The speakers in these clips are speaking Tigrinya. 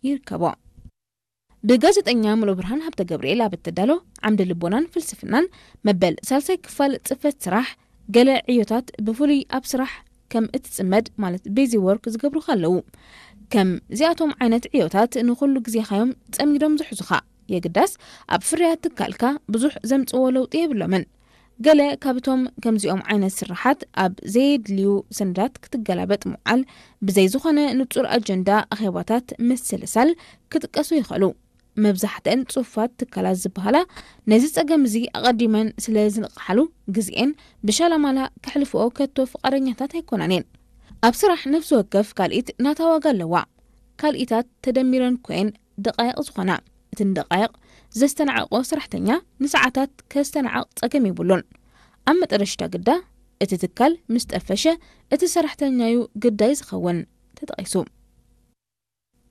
ይርከቦ። ብጋዜጠኛ ሙሉብርሃን ሃብተገብርኤል ኣብ እትዳሎ ዓምዲ ልቦናን ፍልስፍናን መበል ሳልሳይ ክፋል ጽፈት ስራሕ፣ ገለ ዕዮታት ብፍሉይ ኣብ ስራሕ ከም እትጽመድ፣ ማለት ቢዚ ወርክ ዝገብሩኻ ኣለዉ። ከምዚኣቶም ዓይነት ዕዮታት ንኹሉ ግዜኻዮም ጸሚዶም ዝሕዙኻ። የግዳስ ኣብ ፍርያት ትካልካ ብዙሕ ዘምጽዎ ለውጢ የብሎምን። ገለ ካብቶም ከምዚኦም ዓይነት ስራሓት ኣብ ዘየድልዩ ሰነዳት ክትገላበጥ ምውዓል፣ ብዘይ ዝኾነ ንጹር ኣጀንዳ ኣኼባታት ምስልሳል ክጥቀሱ ይኽእሉ። መብዛሕትአን ጽሑፋት ትካላት ዝበሃላ ነዚ ጸገም እዚ ኣቐዲመን ስለ ዝንቕሓሉ፣ ግዜኤን ብሻላማላ ከሕልፍኦ ከቶ ፍቓደኛታት ኣይኮናን እየን። ኣብ ስራሕ ነፍሲ ወከፍ ካልኢት ናታ ዋጋ ኣለዋ። ካልኢታት ተደሚረን ኮየን ደቃይቕ ዝኾና። እተን ደቃይቕ ዘስተናዕቆ ሰራሕተኛ ንሰዓታት ከስተናዕቕ ጸገም የብሉን። ኣብ መጠረሽታ ግዳ እቲ ትካል ምስ ጠፈሸ እቲ ሰራሕተኛዩ ግዳይ ዝኸውን ተጠቒሱ።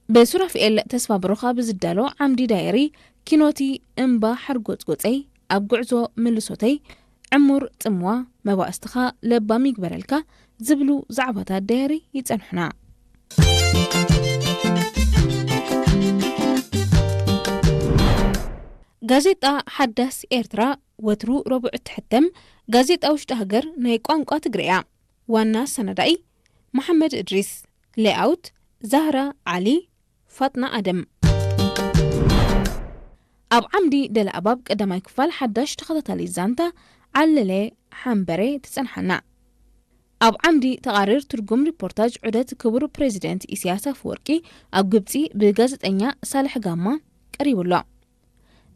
ብሱራፍኤል ተስፋ ብሩኻ ብዝዳሎ ዓምዲ ዳየሪ ኪኖቲ እምባ ሓርጎጽጎጸይ ኣብ ጉዕዞ ምልሶተይ ዕሙር ጽምዋ መባእስትኻ ለባም ይግበረልካ ዝብሉ ዛዕባታት ዳየሪ ይጸንሑና። ጋዜጣ ሓዳስ ኤርትራ ወትሩ ረቡዕ እትሕተም ጋዜጣ ውሽጢ ሃገር ናይ ቋንቋ ትግርያ። ዋና ኣሰናዳኢ መሓመድ እድሪስ። ሌኣውት ዛህራ ዓሊ፣ ፋጥና ኣደም። ኣብ ዓምዲ ደለ ኣባብ ቀዳማይ ክፋል ሓዳሽ ተኸታታሊ ዛንታ ዓለለ ሓምበሬ ትጸንሓና። ኣብ ዓምዲ ተቓሪር ትርጉም ሪፖርታጅ ዑደት ክቡር ፕሬዚደንት ኢሳያስ ኣፈወርቂ ኣብ ግብጺ ብጋዜጠኛ ሳልሕ ጋማ ቀሪቡ ኣሎ።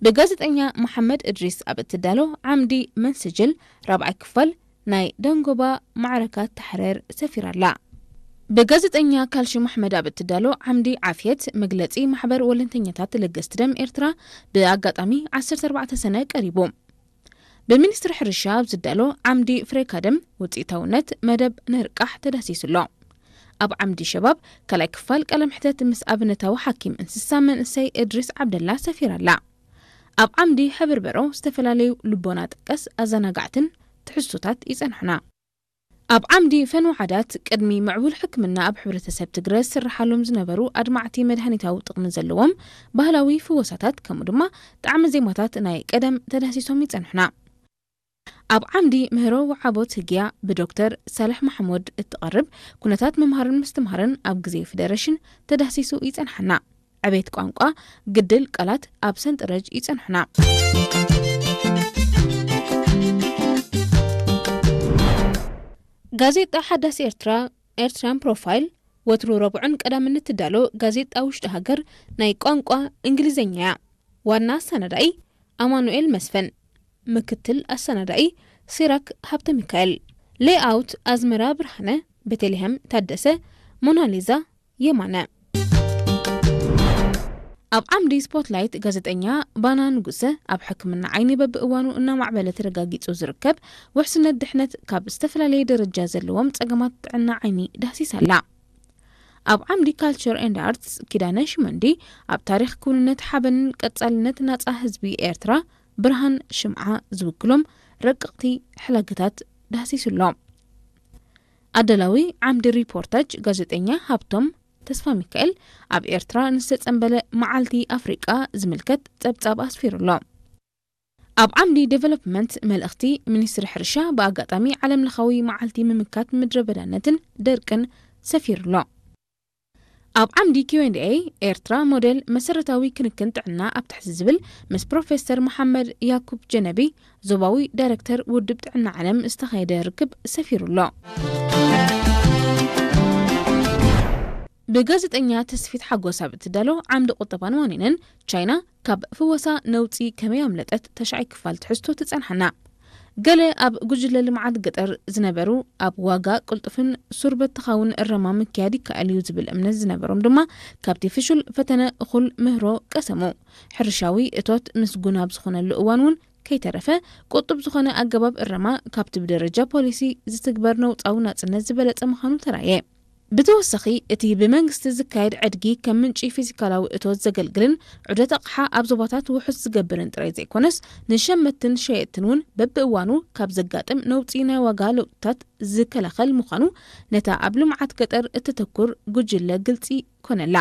ብጋዜጠኛ መሓመድ እድሪስ ኣብ እትዳሎ ዓምዲ መንስጅል ራብዓይ ክፋል ናይ ደንጎባ ማዕረካ ተሕረር ሰፊራ ኣላ። ብጋዜጠኛ ካልሽም ኣሕመድ ኣብ እትዳሎ ዓምዲ ዓፍየት መግለጺ ማሕበር ወለንተኛታት ለገስቲ ደም ኤርትራ ብኣጋጣሚ ዓሰርተ ኣርባዕተ ሰነ ቀሪቡ። ብሚኒስትሪ ሕርሻ ኣብ ዝዳሎ ዓምዲ ፍሬካ ደም ውጽኢታውነት መደብ ነርቃሕ ተዳሲሱ ኣሎ። ኣብ ዓምዲ ሸባብ ካልኣይ ክፋል ቃለ መሕተት ምስ ኣብነታዊ ሓኪም እንስሳ መንእሰይ እድሪስ ዓብደላ ሰፊራ ኣላ። ኣብ ዓምዲ ሕብርበሮ ዝተፈላለዩ ልቦና ጠቀስ ኣዘናጋዕትን ትሕዝቶታት ይጸንሑና። ኣብ ዓምዲ ፈንው ዓዳት ቅድሚ ምዕቡል ሕክምና ኣብ ሕብረተሰብ ትግረ ዝስርሓሎም ዝነበሩ ኣድማዕቲ መድሃኒታዊ ጥቕሚ ዘለዎም ባህላዊ ፍወሳታት ከምኡ ድማ ጣዕሚ ዜማታት ናይ ቀደም ተዳህሲሶም ይጸንሑና። ኣብ ዓምዲ ምህሮ ወዓቦ ትህግያ ብዶክተር ሳልሕ ማሕሙድ እትቐርብ ኩነታት ምምሃርን ምስትምሃርን ኣብ ግዜ ፌደሬሽን ተዳህሲሱ ይጸንሓና። ዕቤት ቋንቋ ግድል ቃላት ኣብ ሰንጠረጅ ይጸንሑና። ጋዜጣ ሓዳስ ኤርትራ ኤርትራን ፕሮፋይል ወትሩ ረቡዕን ቀዳምን እትዳሎ ጋዜጣ ውሽጢ ሃገር ናይ ቋንቋ እንግሊዝኛ እያ። ዋና ኣሰናዳኢ ኣማኑኤል መስፍን፣ ምክትል ኣሰናዳኢ ሲራክ ሃብተ ሚካኤል፣ ሌይኣውት ኣዝመራ ብርሃነ፣ ቤተልሔም ታደሰ፣ ሞናሊዛ የማነ። ኣብ ዓምዲ ስፖትላይት ጋዜጠኛ ባና ንጉሰ ኣብ ሕክምና ዓይኒ በብእዋኑ እናማዕበለ ተረጋጊጹ ዝርከብ ውሕስነት ድሕነት ካብ ዝተፈላለየ ደረጃ ዘለዎም ጸገማት ጥዕና ዓይኒ ዳህሲሳ ኣላ። ኣብ ዓምዲ ካልቸር ኤንድ ኣርትስ ኪዳነ ሽመንዲ ኣብ ታሪኽ ክውንነት ሓበንን ቀጻልነት ናጻ ህዝቢ ኤርትራ ብርሃን ሽምዓ ዝውክሎም ረቀቕቲ ሕላገታት ዳህሲሱ ኣሎ። ኣዳላዊ ዓምዲ ሪፖርታጅ ጋዜጠኛ ሃብቶም ተስፋ ሚካኤል ኣብ ኤርትራ ንዝተጸንበለ መዓልቲ ኣፍሪቃ ዝምልከት ጸብጻብ ኣስፊሩ ኣሎ። ኣብ ዓምዲ ዴቨሎፕመንት መልእኽቲ ሚኒስትሪ ሕርሻ ብኣጋጣሚ ዓለምለኻዊ መዓልቲ ምምካት ምድረ በዳነትን ደርቅን ሰፊሩ ኣሎ። ኣብ ዓምዲ ኪው ኤንድ ኤ ኤርትራ ሞዴል መሰረታዊ ክንክን ጥዕና ኣብ ትሕቲ ዝብል ምስ ፕሮፌሰር መሓመድ ያኩብ ጀነቢ ዞባዊ ዳይረክተር ውድብ ጥዕና ዓለም ዝተኻየደ ርክብ ሰፊሩ ኣሎ። ብጋዜጠኛ ተስፊት ሓጎስ ኣብ እትዳሎ ዓምዲ ቁጠባን ዋኒንን ቻይና ካብ ፍወሳ ነውጺ ከመይ ኣምለጠት ተሻይ ክፋል ትሕዝቶ ትጸንሓና። ገለ ኣብ ጉጅለ ልምዓት ገጠር ዝነበሩ ኣብ ዋጋ ቅልጡፍን ሱር በተኻውን እረማ ምክያድ ይከኣል እዩ ዝብል እምነት ዝነበሮም ድማ ካብቲ ፍሹል ፈተነ እኹል ምህሮ ቀሰሙ። ሕርሻዊ እቶት ምስጉን ኣብ ዝኾነሉ እዋን እውን ከይተረፈ ቁጡብ ዝኾነ ኣገባብ እረማ ካብቲ ብደረጃ ፖሊሲ ዝትግበር ነውጻዊ ናጽነት ዝበለጸ ምዃኑ ተራእየ። ብተወሳኺ እቲ ብመንግስቲ ዝካየድ ዕድጊ ከም ምንጪ ፊዚካላዊ እቶት ዘገልግልን ዑደት ኣቕሓ ኣብ ዞባታት ውሑስ ዝገብርን ጥራይ ዘይኮነስ ንሸመትትን ሸየጥትን እውን በብእዋኑ ካብ ዘጋጥም ነውጺ ናይ ዋጋ ለውጥታት ዝከላኸል ምዃኑ ነታ ኣብ ልምዓት ገጠር እተተኩር ጉጅለ ግልጺ ኮነላ።